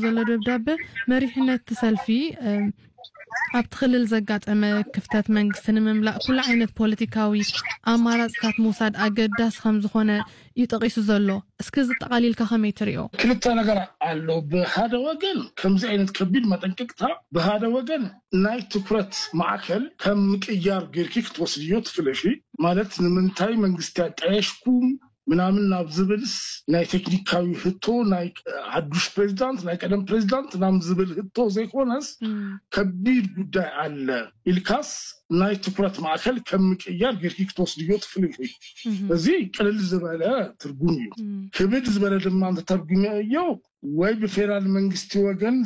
ዘሎ ደብዳበ መሪሕነት እቲ ሰልፊ ኣብቲ ክልል ዘጋጠመ ክፍተት መንግስቲ ንምምላእ ኩሉ ዓይነት ፖለቲካዊ ኣማራፅታት ምውሳድ ኣገዳሲ ከም ዝኾነ እዩ ጠቒሱ ዘሎ። እስኪ እዚ ጠቓሊልካ ከመይ ትሪኦ? ክልተ ነገር ኣሎ። ብሓደ ወገን ከምዚ ዓይነት ከቢድ መጠንቀቅታ፣ ብሓደ ወገን ናይ ትኩረት ማዕከል ከም ምቅያር ጌርኪ ክትወስድዮ ትኽእሊ ኢኺ። ማለት ንምንታይ መንግስቲ ኣጣየሽኩም ምናምን ናብ ዝብልስ ናይ ቴክኒካዊ ህቶ፣ ናይ ሓዱሽ ፕሬዚዳንት፣ ናይ ቀደም ፕሬዚዳንት ናብ ዝብል ህቶ ዘይኮነስ ከቢድ ጉዳይ ኣለ ኢልካስ ናይ ትኩረት ማእከል ከም ምቅያር ጌርኪ ክትወስድዮ ትኽእሊ ኢኺ። እዚ ቅልል ዝበለ ትርጉም እዩ። ክብድ ዝበለ ድማ እንተተርጉመዮ ወይ ብፌደራል መንግስቲ ወገን